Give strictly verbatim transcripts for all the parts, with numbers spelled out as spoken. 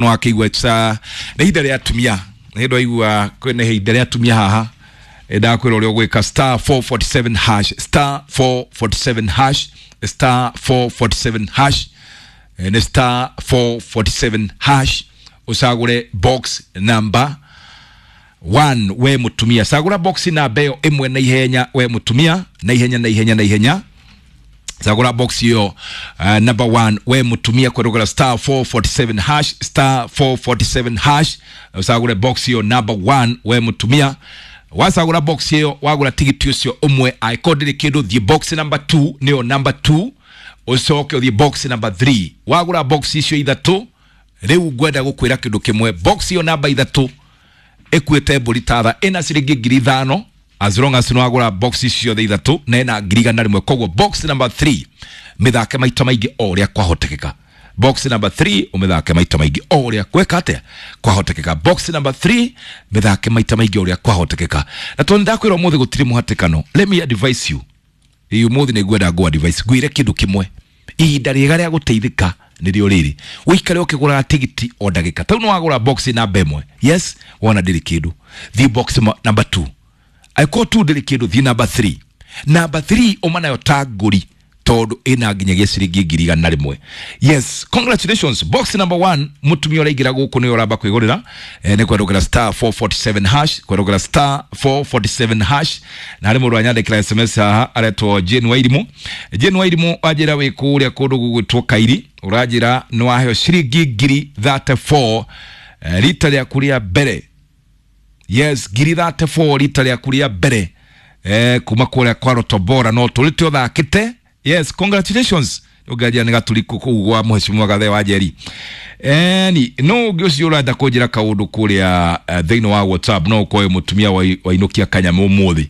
No akĩigua ca nĩ ihinda rĩa atumia, nĩ hĩndĩ waigua kwĩna ihinda rĩa atumia haha. Ndakwĩra ũrĩa ũgwĩka: star four four seven hash, star four four seven hash, star four four seven hash. Eh, nĩ star four four seven hash, ũcagũre box number one. We mutumia, cagũra box namba ĩyo ĩmwe na ihenya. We mutumia, na ihenya, na ihenya, na ihenya, cagũra box ĩyo uh, number one. We mutumia, kwerũgera star four four seven hash, star four four seven hash, ũcagũre box ĩyo number one. We mutumia, wacagũra box ĩyo, wagũra tigiti ũcio ũmwe, angĩkorwo ndĩrĩ kĩndũ, thiĩ box number two, nĩyo number two, ũcoke ũthiĩ box number three. Wagũra box icio ithatũ, rĩu ngwenda gũkwĩra kĩndũ kĩmwe: box ĩyo namba ithatũ ĩkuĩte mbũri tatha ĩna ciringi ngiri ithano, as long as nĩwagũra box icio ciothe ithatũ, na ĩna ngiri igana rĩmwe. Koguo box number three mĩthake maita maingĩ o ũrĩa kwahotekeka. Box number three ũmĩthake maita maingĩ o ũrĩa gweka atĩa kwahotekeka. Box number three mĩthake maita maingĩ o ũrĩa kwahotekeka. Na tondũ ndakwĩra ũmũthĩ gũtirĩ mũhatĩkano, let me advise you. Ĩ ũmũthĩ nĩ ngwenda ngũ advice, ngwĩre kĩndũ kĩmwe: ihinda rĩega rĩa gũteithĩka nĩrĩo rĩrĩ. Ũikare ũkĩgũraga tigiti o ndagĩka. Tau nĩwagũra box namba ĩmwe, yes, wona ndĩrĩ kĩndũ, thiĩ box ma- number two. Angĩkorwo tu ndĩrĩ kĩndũ, thiĩ number three. Number three ũma nayo ta ngũri, tondũ ĩna nginyagia ciringi ngiri igana rĩmwe. Yes, congratulations. Box number one, mũtumia ũraingĩra gũkũ nĩwe ũramba kwĩgũrĩra. eh, nĩ kwerũgĩra star four four seven hash, kwerũgĩra star four four seven hash. Na harĩ mũndũ wanyandĩkĩra S M S haha aretwo Jane Wairimu. Jane Wairimu, wanjĩra wĩ kũrĩa kũndũ gũgwĩtwo Kairi, ũranjĩra nĩ waheo ciringi ngiri thirty-four eh, rita rĩaku rĩa mbere. Yes, ngiri thirty-four rita rĩaku rĩa mbere eh, kuma kũrĩa kwa Rotobora no tũrĩte ũthakĩte. Yes, congratulations. Ũngĩanjia nĩ gaturiku kũu gwa mheshimiwa Gathe wa Njeri. Eni no ũngĩ ũcio ũrenda kũnjĩra kaũndũ kũrĩa eh, thĩinĩ wa WhatsApp, no ũkorwo wĩ mũtumia wa- wainũkia kanyamũ ũmũthĩ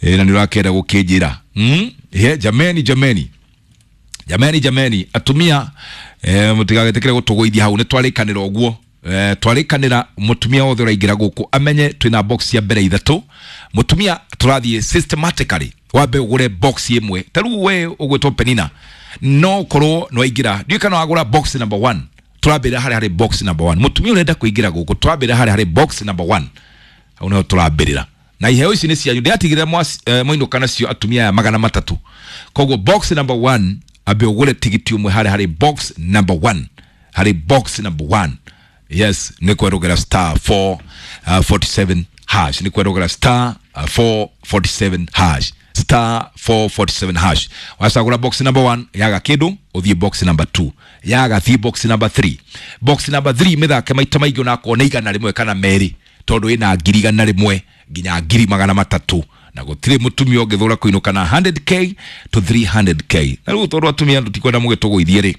eh, na nĩ ũrakĩenda gũkĩnjĩra mm? Yeah, jameni, jameni, jameni, jameni, atumia eh, mũtigagetĩkĩre gũtũgũithia hau. Nĩ twarĩkanĩra ũguo, eh, twarĩkanĩra mũtumia wothe ũraingĩra gũkũ amenye twĩna box ya mbere ithatũ. Mũtumia, tũrathiĩ systematically. Wambe ũgũre box ĩmwe. Ta rĩu we ũgwĩtwo Penina, no ũkorwo nĩ waingĩra, ndiũĩ kana wagũra box number one. Tũrambĩrĩra harĩa harĩ box number one. Mũtumia ũrenda kũingĩra gũkũ, tũrambĩrĩra harĩa harĩ box number one, hau nĩho tũrambĩrĩra. Na iheo ici nĩ cianyu, ndĩratigĩrĩra eh, mwainũka nacio, atumia aya magana matatũ. Koguo box number one, ambe ũgũre tigiti ũmwe harĩa harĩ box number one, harĩ box number one. Yes, nĩ kwerũgĩra star four forty-seven hash, nĩ kwerũgĩra star uh, four forty-seven hash, star four forty-seven hash. Wacagũra box number one, yaga kĩndũ, ũthiĩ box number two. Yaga, thiĩ box number three. Box number three mĩthake maita maingĩ, onakorwo nĩ igana rĩmwe kana merĩ, tondũ ĩna ngiri igana rĩmwe nginya ngiri magana matatũ, na gũtirĩ mũtumia ũngĩthũra kũinũka na one hundred k to three hundred k. Na rĩu tondũ atumia tũtikwenda mũgĩtũgũithie rĩ,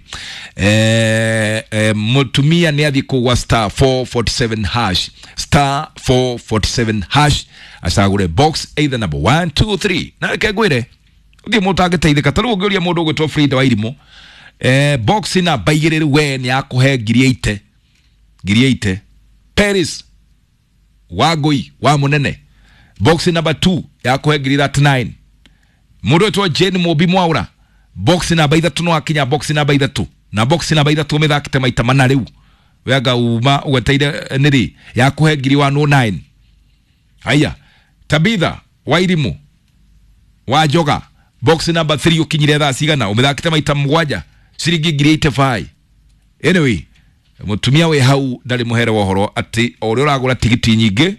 eh, eh, mũtumia nĩ athiĩ kũgwa star four forty-seven hash, star four forty-seven hash, acagũre box either number one, two, three. Na reke ngwĩre, ũthiĩ mũndũ angĩteithĩka. Ta rĩu ũngĩũria mũndũ ũgwĩtwo Frida wa Irimũ, eh, box namba igĩrĩ rĩu we nĩ akũhe ngiri eighty, ngiri eighty. Paris Wangui wa Munene, box number two yakũhe ngiri thirty-nine. Mũndũ wĩtwo Jane Mũmbi Mwaũra, box namba ithatũ, no akinya box namba ithatũ, na box namba ithatũ mĩthakĩte maita mana rĩu, wenga uma ũgweteire nĩrĩ, yakũhe ngiri one oh nine. Haya, Tabitha Wairimu wa Njoga, box number three, ũkinyire thaa cigana? Ũmĩthakĩte maita mũgwanja, ciringi ngiri eighty-five. Anyway, mũtumia wĩ hau ndarĩ mũhere wa ũhoro atĩ o ũrĩa ũragũra tigiti nyingĩ,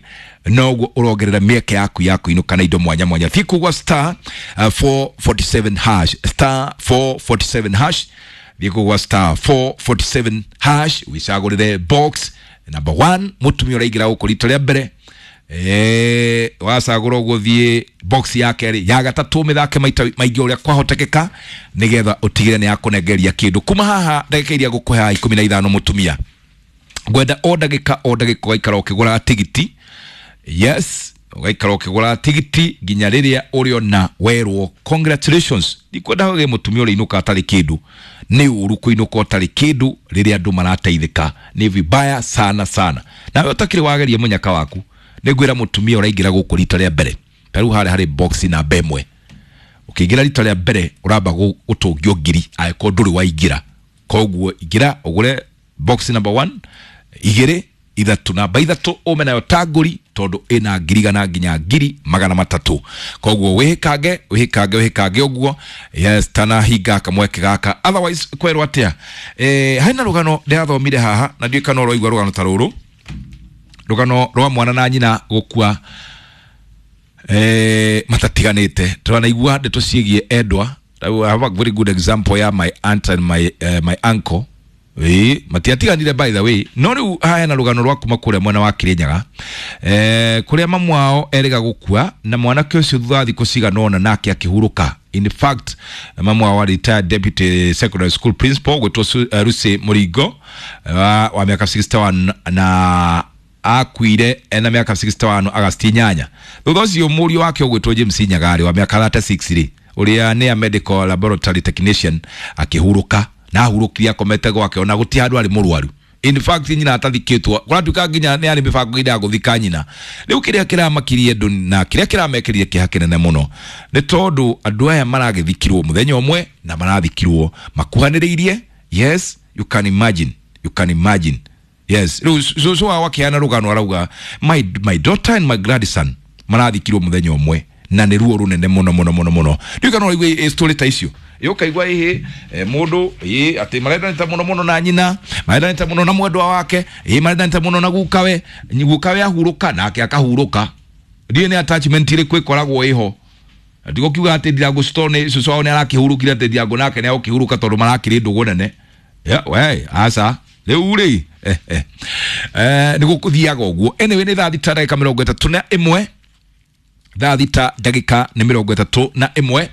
noguo ũrongerera mĩeke yaku ya kũinũka na indo mwanya mwanya. Thiĩ kugwa star uh, four forty-seven hash, star four forty-seven hash. Thiĩ kugwa star four forty-seven hash, wĩcagũrĩre box number one. Mũtumia ũraingĩra gũkũ rita rĩa mbere, eh, wacagũra ũguo, thiĩ box ya kerĩ, ya gatatũ, mĩthake maita maingĩ ũrĩa kwahotekeka, nĩgetha ũtigĩre nĩ yakũnengeria kĩndũ kuma haha ndagĩka iria ngũkũhe haha ikũmi na ithano. Mũtumia, ngwenda o ndagĩka o ndagĩka ũgaikara ũkĩgũraga tigiti. Yes, ũgaikara ũkĩgũraga tigiti nginya rĩrĩa ũrĩona werwo congratulations. Ndikwenda hage mũtumia ũrĩa atarĩ kĩndũ. Nĩ ũru kũinũka ũtarĩ kĩndũ rĩrĩa andũ marateithĩka, nĩ vibaya sana sana. Nawe ũtakĩrĩ wageria mũnyaka waku, nĩ ngwĩra mũtumia ũraingĩra gũkũ rita rĩa mbere, ta rĩu harĩa harĩ box namba ĩmwe, ũkĩingĩra rita rĩa mbere ũramba gũtũngio ngiri angĩkorwo ndũrĩ waingĩra. Koguo ingĩra ũgũre box number one. igĩrĩ, ithatũ. Namba ithatũ ume nayo tangũri tondũ ĩna ngiri igana nginya ngiri magana matatũ. Koguo wĩhĩkange, wĩhĩkange, wĩhĩkange ũguo. Yes, tanahinga kamweke gaka, otherwise kwerwo atĩa? Eh, hena rũgano ndĩrathomire haha na ndiũĩ kana ũroigua rũgano ta rũrũ, rũgano rwa mwana na nyina gũkua eh, matatiganĩte. Tũranaigua ndeto ciĩgiĩ endwa. I have a very good example ya my aunt and my, uh, my uncle. Ĩĩ, matiatiganire by the way, no rĩu haya na rũgano rwa kuma kũrĩa mwena wa Kĩrĩnyaga, eh, kũrĩa mamu wao erĩga gũkua na mwanake ũcio thutha wa thikũ cigana ũna nake akĩhurũka. In fact, mamu wao retired deputy secondary school principal gwĩtwo uh, Lucy Mũringo wa, wa mĩaka sixty-one, na akuire ena mĩaka sixty-one Agasti inyanya. Thutha ũcio mũriũ wake ũgwĩtwo James Nyagarĩ wa mĩaka thirty-six rĩ, ũrĩa nĩ a medical laboratory technician, akĩhurũka na ahurũkire akomete gwake, ona gũtirĩ handũ arĩ mũrwaru. In fact, nyina atathikĩtwo, kũratuĩka nginya nĩ arĩ mĩbango-inĩ ya gũthika nyina. Rĩu kĩrĩa kĩramakirie andũ na kĩrĩa kĩramekĩrire kĩeha kĩnene mũno nĩ tondũ andũ aya maragĩthikirwo mũthenya ũmwe na marathikirwo makuhanĩrĩirie. Yes, you can imagine, you can imagine. Yes, rĩu cũcũ wao akĩheana rũgano arauga, my, my daughter and my grandson marathikirwo mũthenya ũmwe na nĩ ruo rũnene mũno mũno mũno mũno. Ndiũĩ kana ũraigua story ta icio, ũkaigua ĩhĩ mũndũ ĩ atĩ marendanĩte mũno mũno na nyina, marendanĩte mũno na mwendwa wake, ĩ marendanĩte mũno na gukawe, gukawe ahurũka nake akahurũka. Ndiũĩ nĩ attachment ĩrĩkũ ĩkoragwo ĩho. Ndigũkiuga atĩ Ndirango Stone cũcũ wao nĩ arakĩhurũkire atĩ Ndirango nake nĩ agũkĩhurũka tondũ marakĩrĩ ndũgũ nene. Yeah, we aca rĩu rĩ, eh, eh. Eh, nĩ gũkũthiaga ũguo. Anyway, nĩ thaa thita ndagĩka mĩrongo ĩtatũ na ĩmwe, thaa thita ndagĩka nĩ mĩrongo ĩtatũ na ĩmwe.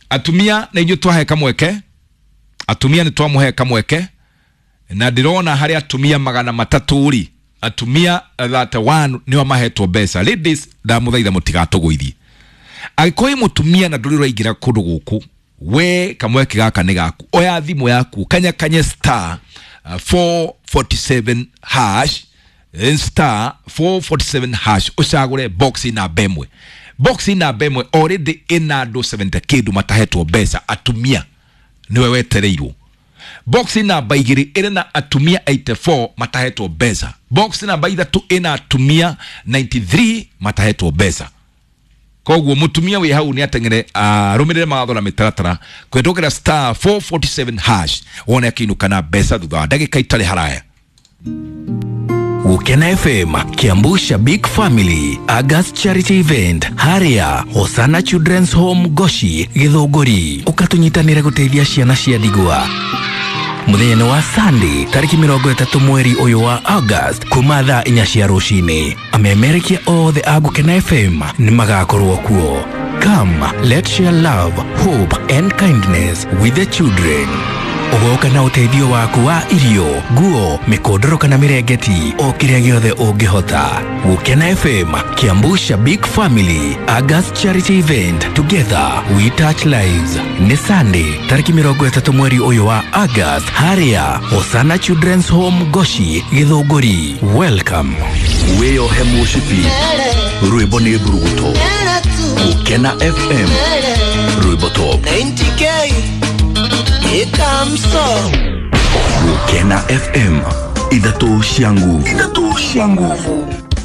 Atumia nĩ inyuĩ twahe kamweke, atumia nĩ twamũhe kamweke, na ndĩrona harĩ atumia magana matatũ rĩ, atumia thirty-one nĩo mahetwo mbeca. Ladies, ndamũthaitha mũtigatũgũithie. Angĩkorwo wĩ mũtumia na ndũrĩ ũraingĩra kũndũ gũkũ, we kamweke gaka nĩ gaku. Oya thimũ yaku, kanya kanye star uh, four forty-seven hash, eh, star four forty-seven hash, ũcagũre box namba ĩmwe. Box namba ĩmwe already ĩna andũ seventy kĩndũ matahetwo mbeca. Atumia nĩwe wetereirwo. Box namba igĩrĩ ĩrĩ na atumia eighty-four matahetwo mbeca. Box namba ithatũ ĩna atumia ninety-three matahetwo mbeca. Koguo mutumia wĩ hau nĩ ateng'ere arũmĩrĩre mawatho na mĩtaratara kũhetũkĩra star four forty-seven hash, wone akĩinũka na mbeca thutha wa ndagĩka itarĩ haraya. Gukena F M, Kiambu Shabik Family, August Charity Event, Haria, Hosana Children's Home Goshi, Githunguri. Ũkatunyitanĩre gũteithia ciana cia ndigwa. Mũthenya wa Sunday tarĩki mĩrongo ĩtatũ mweri ũyũ wa August kuma thaa inya cia rũcinĩ. Amemerekia othe a Gukena F M nĩ magakorwo kuo. Come, let's share love, hope and kindness with the children. Ũgoka na ũteithio waku wa irio, nguo, mĩkondoro kana mĩrengeti, o kĩrĩa gĩothe ũngĩhota. Gukena F M, Kiambu Shabik Family, August Charity Event. Together we touch lives. Nĩ Sunday tarĩki mĩrongo ĩtatũ mweri ũyũ wa August, harĩa Hosana Children's Home Goshi, Githunguri. Welcome. Wĩyohe mũcibi, rwĩmbo nĩ mburuguto. Gũkena F M, rwĩmbo top. ninety K ikamso. Gũkena F M, ithatũ cia nguvu, ithatũ cia nguvu.